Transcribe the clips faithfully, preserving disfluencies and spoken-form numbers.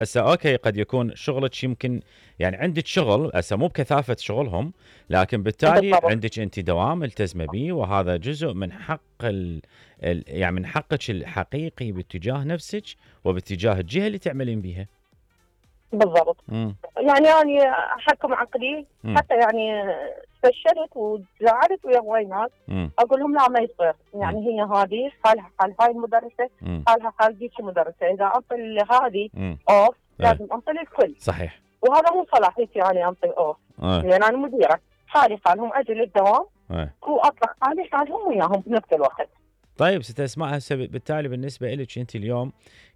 هسه اوكي قد يكون شغلك يمكن يعني عندك شغل هسه مو بكثافه شغلهم، لكن بالتالي بالضبط. عندك انت دوام ملتزمه به، وهذا جزء من حق ال ال يعني من حقك الحقيقي باتجاه نفسك وباتجاه الجهه اللي تعملين بيها. بالضبط. امم يعني أنا أحكم عقلي، امم حتى يعني فشلت وزعلت ويا هواي ناس، امم أقول لهم لا ما يصير، امم يعني هي هذه حالها حال هاي المدرسة، امم حالها حال ذيك المدرسة، إذا أعطي هذه امم أوف ايه لازم أعطي للكل، صحيح. وهذا مو صلاحيتي يعني أعطي أوف، ايه لأن أنا مديرة، حالي حالهم أجي للدوام ايه وأطلع حالي حالهم وياهم بنفس الوقت. طيب ست اسماء، هسه بالتالي بالنسبه لك انت اليوم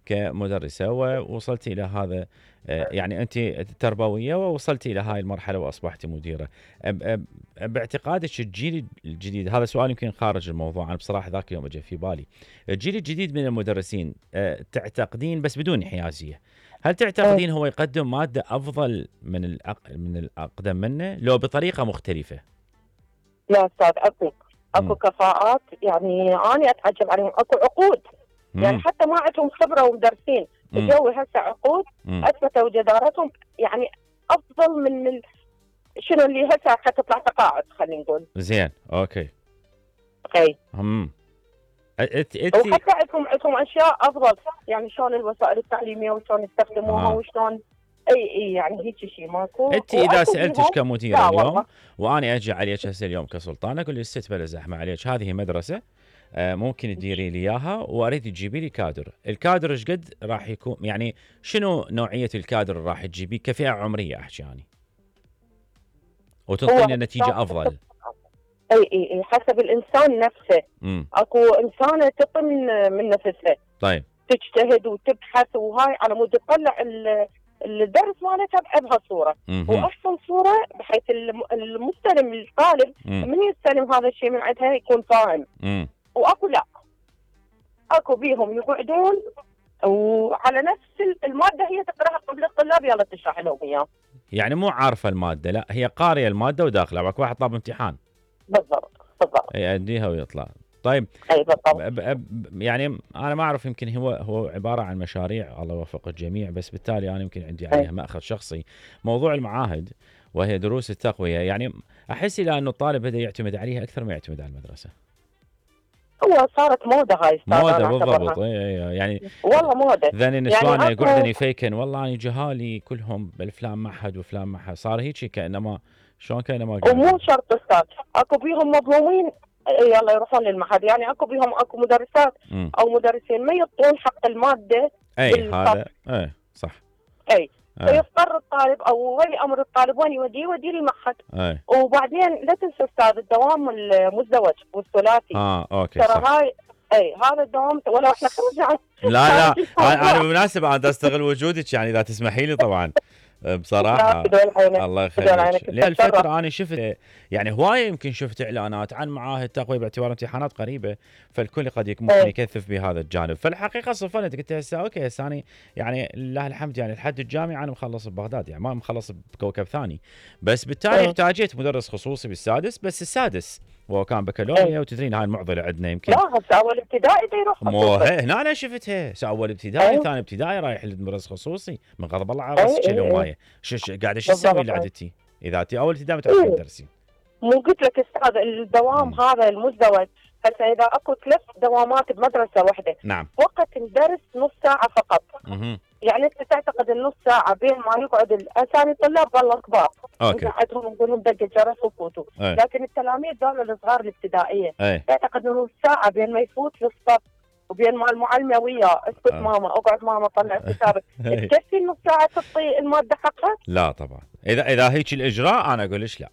كمدرسه ووصلتي الى هذا، آه، يعني انت تربويه ووصلتي الى هاي المرحله واصبحتي مديره، أب- أب- باعتقادك الجيل الجديد، هذا سؤال يمكن خارج الموضوع، انا بصراحه ذاك اليوم اجى في بالي، الجيل الجديد من المدرسين، آه، تعتقدين بس بدون حيازيه، هل إيه. تعتقدين هو يقدم ماده افضل من الأق... من الاقدم منه لو بطريقه مختلفه؟ يا أستاذ أكو أكو امم كفاءات، يعني أنا أتعجب عليهم، أكو عقود، يعني امم حتى ما عندهم خبرة ومدرسين، امم الجو هسه عقود امم اثبتوا جدارتهم، يعني افضل من ال... شنو اللي هسه حتطلع تقاعد خلينا نقول. زين اوكي. اي. امم انت انت وحتى عندهم عندهم اشياء افضل، يعني شلون الوسائل التعليميه وشلون يستخدموها اه وشلون. اي اي يعني هيك شيء ماكو، انت اذا واكو سالتك بيهم. كمديره لا اليوم، والله. وانا اجي عليك هسه اليوم كسلطان اقول لك ست بلا زحمه عليك، هذه مدرسه، آه، ممكن تديري لي اياها واريد تجيبي لي كادر، الكادر ايش قد راح يكون، يعني شنو نوعيه الكادر اللي راح تجيبيه كفئه عمريه احكي يعني، هو وتنطيني نتيجه حسب. افضل. اي اي اي حسب الانسان نفسه، امم اكو انسانه تعطي من من نفسها، طيب. تجتهد وتبحث وهاي على مود تطلع ال- الدرس مالتها بهالصوره، اها واحسن صوره بحيث الم- المستلم الطالب امم من يستلم هذا الشيء من عندها يكون فاهم. امم واكو لا، اكو بيهم يقعدون وعلى نفس ال- الماده هي تقراها قبل الطلاب يلا تشرح لهم اياه. يعني مو عارفه الماده، لا هي قاريه الماده وداخله، باك واحد طاب امتحان بالضبط بالضبط. يأديها ويطلع. طيب. اي بالضبط. ب- ب- يعني انا ما اعرف، يمكن هو هو عباره عن مشاريع، الله يوفق الجميع، بس بالتالي انا يمكن عندي اي عليها ماخذ شخصي، موضوع المعاهد وهي دروس التقويه، يعني احس الى انه الطالب بدا يعتمد عليها اكثر ما يعتمد على المدرسه. هو صارت موضه هاي استاذ موده انا بالضبط، اعتبرها، اي اي يعني والله موضه. ذن يعني النسوان يقعدن اكو يفيكن والله انا جهالي كلهم بالفلان معهد وفلان معهد، صار هيك كانما شلون كانما ومو قاعد. شرط استاذ، اكو بيهم مظلومين يلا يروحون للمعهد، يعني اكو بيهم اكو مدرسات امم او مدرسين ما يعطون حق الماده اي بالفصل. هذا اي صح. اي. اي فيضطر الطالب او ولي امر الطالب وين يوديه؟ يوديه للمعهد. اي وبعدين لا تنسى استاذ الدوام المزدوج والثلاثي، ها اوكي ترى صح. هاي اي هذا الدوام ولا احنا خرجنا عن لا لا خارج انا أنا الموضوع. بالمناسبه انا استغل وجودك يعني اذا تسمحي لي طبعا، لا بصراحه بدون عينك، الله بدون يخليك، عينك لان تتشرف. الفتره انا شفت يعني هوايه، يمكن شفت اعلانات عن معاهد تقويه باعتبار امتحانات قريبه، فالكل قد يك- ممكن اي يكثف بهذا الجانب، فالحقيقه صفنت قلت هسه اوكي هسه انا يعني لله الحمد يعني لحد الجامعه انا مخلص ببغداد، يعني ما مخلص بكوكب ثاني، بس بالتالي اي احتاجيت مدرس خصوصي بالسادس، بس السادس وهو كان اي. بكالوريا، وتدرين هاي المعضله عندنا يمكن. لا هسه اول ابتدائي دا يروح مو خصوصي. هي هنا انا شفتها، سو اول ابتدائي اي ثاني ابتدائي رايح لمدرس خصوصي، من غضب الله على اي راسك اي اي. الهوايه، شو شو قاعده شو تسوي بالضبط. اي. لعدتي اذا انت اول ابتدائي ما تعرفين اي تدرسين. مو قلت لك استاذ الدوام مم. هذا المزدوج، هسه اذا اكو ثلاث دوامات بمدرسه واحده، نعم. وقت الدرس نص ساعه فقط، اها يعني انت تعتقد النص ساعه بين ما يقعد الاسامي الطلاب والله كبار اوكي. نقعدهم نقول لهم دق الجرس وفوتوا، اي لكن التلاميذ دول الصغار الابتدائيه اي تعتقد انه نص ساعه بين ما يفوت للصف وبين ما المعلمه وياه اسكت آه. ماما اقعد ماما طلع كتابك، اي تكفي النص ساعه تعطي الماده حقها؟ لا طبعا، اذا اذا هيك الاجراء انا اقول لك لا،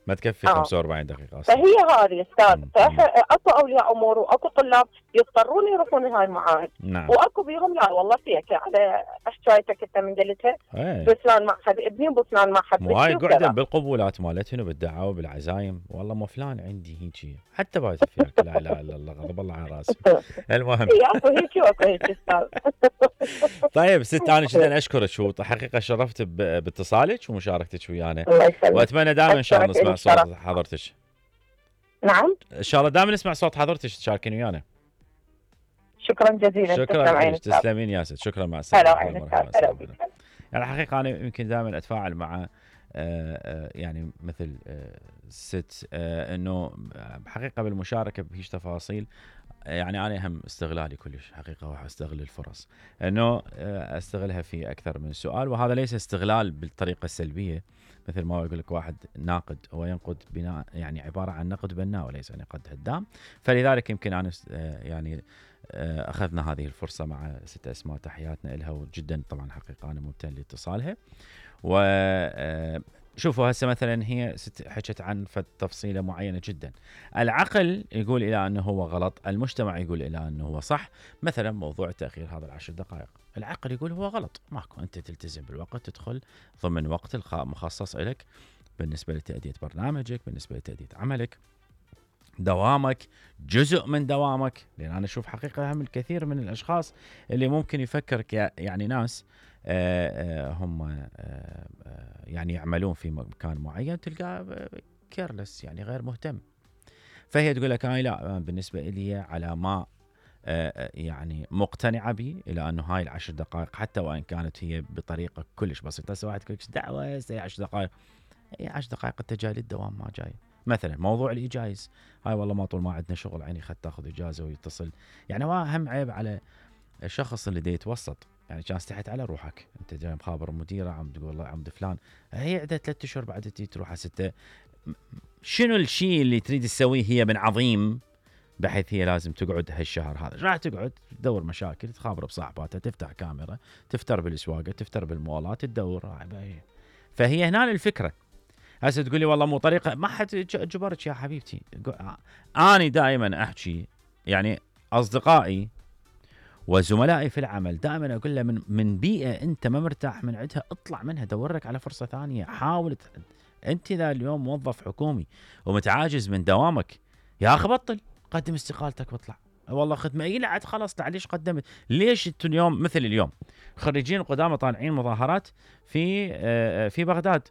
ما تكفي اه. خمسة وأربعين دقيقه اصلا. فهي هذه استاذ، مم. مم. فاكو اولياء امور واكو طلاب يضطرون يروحون لهاي المعاهد، نعم. واكو بيهم لا والله فيك على حكايتك انت من قلتها اي بفلان معهد ابني وبفلان معهد مو هاي بنتي قعدن وكذا. بالقبولات مالتهن وبالدعاوى بالعزايم، والله مو فلان عندي هيجي حتى بايت فيك، لا اله الا الله غضب الله على راسي. المهم اي اكو هيك واكو هيك استاذ. طيب ست، انا جدا اشكرك، وحقيقه شرفت ب- باتصالك ومشاركتك ويانا، الله يسلمك. واتمنى دائما ان شاء الله أشكرك نسمع إلك صوت شرف. حضرتك، نعم ان شاء الله دائما نسمع صوت حضرتك تشاركين ويانا. شكرا جزيلا. شكرا لك، تسلمين يا ست، شكرا، مع السلامه. هلا وعين هلا بك. يعني الحقيقه انا يمكن دائما اتفاعل مع يعني مثل ست انه بحقيقه بالمشاركه بهيج تفاصيل. يعني انا هم استغلالي كلش حقيقه، راح استغل الفرص انه استغلها في اكثر من سؤال، وهذا ليس استغلال بالطريقه السلبيه مثل ما يقول لك واحد ناقد، هو ينقد بناء يعني عباره عن نقد بناء وليس نقد هدام. فلذلك يمكن انا يعني اخذنا هذه الفرصه مع ست اسماء، تحياتنا لها، وجدا طبعا حقيقه انا ممتن لاتصالها. و شوفوا هسه مثلا هي حكت عن تفصيله معينه جدا، العقل يقول الى انه هو غلط، المجتمع يقول الى انه هو صح. مثلا موضوع تاخير هذا العشر دقائق، العقل يقول هو غلط، ماكو، انت تلتزم بالوقت، تدخل ضمن وقت مخصص لك بالنسبه لتاديه برنامجك، بالنسبه لتاديه عملك، دوامك، جزء من دوامك. لان انا اشوف حقيقه هم الكثير من الاشخاص اللي ممكن يفكر يعني ناس آآ آآ هم آآ يعني يعملون في مكان معين، تلقاه كيرلس يعني غير مهتم. فهي تقول لك هاي لا، بالنسبه لي على ما يعني مقتنعه به الى انه هاي العشر دقائق حتى وان كانت هي بطريقه كلش بسيطه. هسه واحد يقول لك دعوه هي عشر دقائق، هي عشر دقائق انت جاي للدوام ما جاي. مثلا موضوع الاجايز، هاي والله ما طول ما عندنا شغل عيني خد تاخذ اجازه ويتصل. يعني هو اهم عيب على الشخص اللي دا يتوسط، يعني كان استحيت على روحك، انت جاي مخابر مديره عم تقول والله عمد فلان هي عندها ثلاث اشهر بعد تجي تروح على سته، شنو الشيء اللي تريد تسويه هي من عظيم بحيث هي لازم تقعد هالشهر هذا؟ راح تقعد تدور مشاكل، تخابر بصاحباتها، تفتح كاميرا، تفتر بالسواقه، تفتر بالمولات، تدور. فهي هنا الفكره. هسه تقول لي والله مو طريقه، ما حد جبرك يا حبيبتي. انا دائما احكي يعني اصدقائي وزملائي في العمل دائما اقول له من من بيئه انت ما مرتاح من عندها اطلع منها، دور لك على فرصه ثانيه، حاول. انت اذا اليوم موظف حكومي ومتعاجز من دوامك، يا اخي بطل، قدم استقالتك واطلع. والله خدمه اي لا خلاص، ليش قدمت؟ ليش انتم اليوم مثل اليوم خريجين القدامى طالعين مظاهرات في في بغداد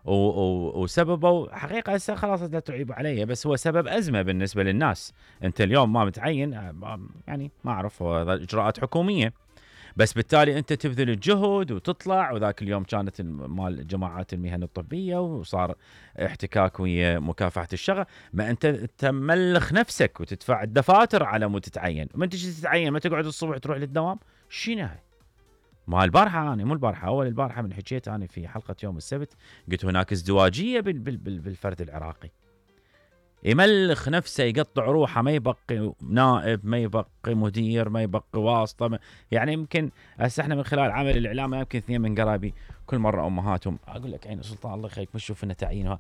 وسببوا حقيقه هسه خلاص لا تعيبوا علي، بس هو سبب ازمه بالنسبه للناس. انت اليوم ما متعين، يعني ما اعرف، اجراءات حكوميه، بس بالتالي انت تبذل الجهد وتطلع. وذاك اليوم كانت مال جماعات المهن الطبيه وصار احتكاك ويا مكافحه الشغب، ما انت تملخ نفسك وتدفع الدفاتر على مود تتعين، ومن تجي تتعين ما تقعد الصبح تروح للدوام. شنو هاي؟ ما البارحه انا مو البارحه اول البارحه من حكيت انا في حلقه يوم السبت، قلت هناك ازدواجيه بالفرد العراقي، يملخ نفسه، يقطع روحه، ما يبقي نائب، ما يبقي مدير، ما يبقي واسطه. ما يعني يمكن هسه احنا من خلال عمل الاعلام يمكن اثنين من قرايبي كل مره امهاتهم اقول لك عين سلطان الله يخليك مش شوف لنا تعيين.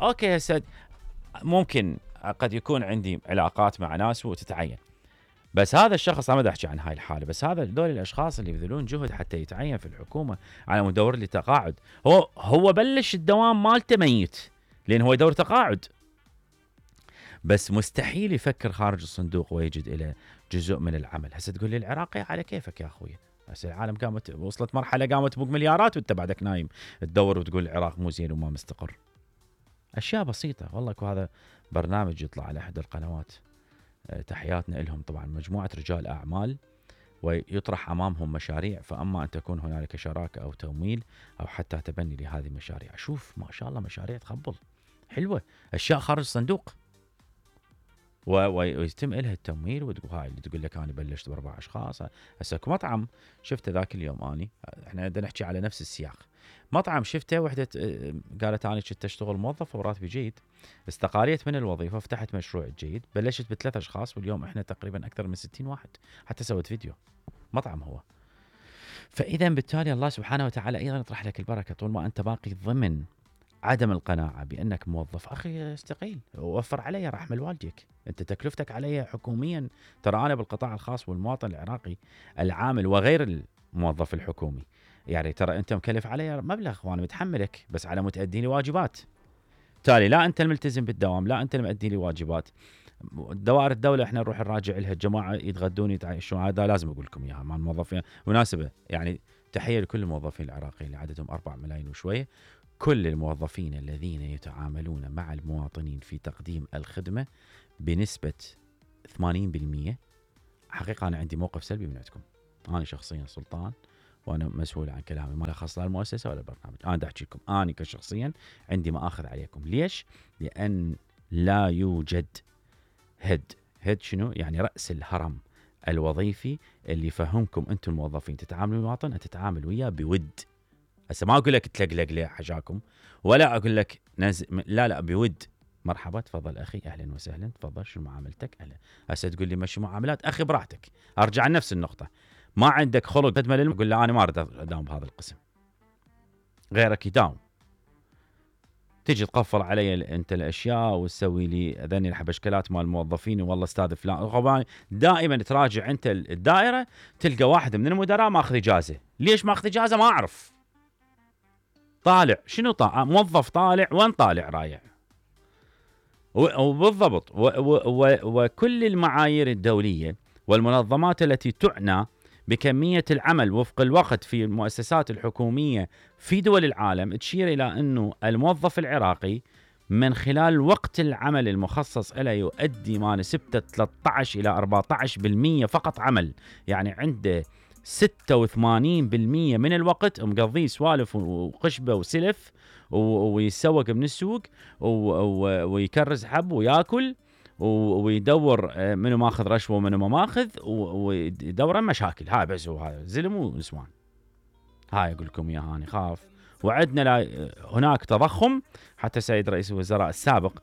اوكي هسه ممكن قد يكون عندي علاقات مع ناس وتتعين، بس هذا الشخص انا ما احكي عن هاي الحاله، بس هذا دول الاشخاص اللي يبذلون جهد حتى يتعين في الحكومه على مدور لي تقاعد. هو هو بلش الدوام مالته ميت لان هو يدور تقاعد، بس مستحيل يفكر خارج الصندوق ويجد إلى جزء من العمل. هسه تقول لي العراقي على كيفك يا اخوي، هسه العالم قامت وصلت مرحله قامت تبوق مليارات وانت بعدك نايم تدور وتقول العراق مو زين وما مستقر. اشياء بسيطه والله. وهذا برنامج يطلع على احد القنوات، تحياتنا لهم طبعا، مجموعه رجال اعمال ويطرح امامهم مشاريع، فاما ان تكون هنالك شراكه او تمويل او حتى تبني لهذه المشاريع. شوف ما شاء الله مشاريع تخبل حلوه، اشياء خارج الصندوق، ويتم لها التمويل. وتقول هاي اللي تقول لك انا بلشت باربع اشخاص. هسه مطعم شفته ذاك اليوم، اني احنا بدنا نحكي على نفس السياق. مطعم شفته وحده قالت انا كنت اشتغل موظفه وراتبي جيد، استقاليت من الوظيفه، فتحت مشروع جيد، بلشت بثلاث اشخاص واليوم احنا تقريبا اكثر من ستين واحد، حتى سويت فيديو. مطعم هو. فاذا بالتالي الله سبحانه وتعالى ايضا يطرح لك البركه طول ما انت باقي ضمن عدم القناعة بأنك موظف. أخي استقيل، ووفر علي راح أحمل والديك، أنت تكلفتك علي حكوميا. ترى أنا بالقطاع الخاص والمواطن العراقي العامل وغير الموظف الحكومي، يعني ترى أنت مكلف علي مبلغ وأنا متحملك بس على متأدي لي واجبات. تالي لا أنت الملتزم بالدوام، لا أنت المؤدي لي واجبات. دوائر الدولة احنا نروح نراجع لها، الجماعة يتغدون يتعايشون، هذا لازم أقول لكم إياها مع الموظفين. مناسبة يعني تحية لكل الموظفين العراقيين اللي عددهم أربعة ملايين وشوية، كل الموظفين الذين يتعاملون مع المواطنين في تقديم الخدمة بنسبة ثمانين بالمئة حقيقه انا عندي موقف سلبي من عندكم. انا شخصيا سلطان وانا مسؤول عن كلامي، ما له خاص لا المؤسسه ولا البرنامج. انا دا احكي لكم انا كشخصيا عندي ما اخذ عليكم. ليش؟ لان لا يوجد هيد. هيد شنو؟ يعني راس الهرم الوظيفي اللي يفهمكم انتم الموظفين تتعاملوا المواطن، تتعامل وياه بود. هسه ما اقول لك تلقلق ليه حجاكم، ولا اقول لك نز... لا لا بود. مرحبا تفضل اخي، اهلا وسهلا، تفضل شو معاملتك؟ اهلا. هسه تقول لي مشي معاملات، اخي براحتك. ارجع لنفس النقطه، ما عندك خلق خدمه للم، قول له انا ما اريد اداوم بهذا القسم، غيرك يداوم. تجي تقفل علي انت الاشياء وتسوي لي ذني الحبشكلات مال الموظفين، والله استاذ فلان. دائما تراجع انت الدائره تلقى واحد من المدراء ماخذ اجازه. ليش ماخذ اجازه؟ ما اعرف. طالع شنو؟ طالع موظف، طالع وين؟ طالع رايع. وبالضبط وكل المعايير الدوليه والمنظمات التي تعنى بكميه العمل وفق الوقت في المؤسسات الحكوميه في دول العالم تشير الى انه الموظف العراقي من خلال وقت العمل المخصص له يؤدي ما نسبته ثلاثة عشر إلى أربعة عشر بالمئة فقط عمل. يعني عنده ستة وثمانين بالمئة من الوقت مقضيه سوالف وقشبه وسلف ويسوق من السوق ويكرز حب وياكل ويدور منو ماخذ رشوه ومنو ما ماخذ ويدور مشاكل. هاي بس، وهذا زلم ونسوان. هاي اقول لكم اياها انا خاف. وعدنا هناك تضخم. حتى سيد رئيس الوزراء السابق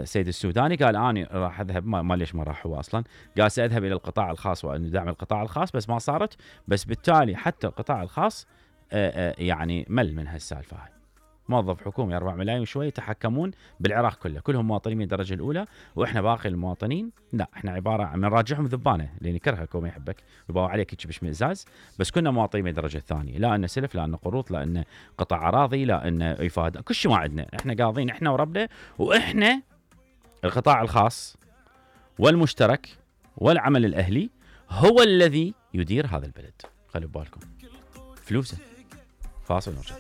سيد السوداني قال اني راح اذهب، ما ليش ما راح هو اصلا، قال ساذهب الى القطاع الخاص وان دعم القطاع الخاص، بس ما صارت. بس بالتالي حتى القطاع الخاص يعني مل من هالسالفه هاي. موظف حكومي أربعة ملايين وشوي يتحكمون بالعراق كله، كلهم مواطنين من الدرجه الاولى، واحنا باقي المواطنين لا، احنا عباره عن نراجعهم ذبانه لان يكرهك وما يحبك ويباوع عليك هيك بشمئزاز، بس كنا مواطنين من الدرجه الثانيه، لا ان سلف، لا ان قروض، لا ان قطع اراضي، لا ان افاده، كل شيء ما عندنا، احنا قاضين احنا وربنا. واحنا القطاع الخاص والمشترك والعمل الاهلي هو الذي يدير هذا البلد. خلوا ببالكم فلوسه. فاصل ونرجع.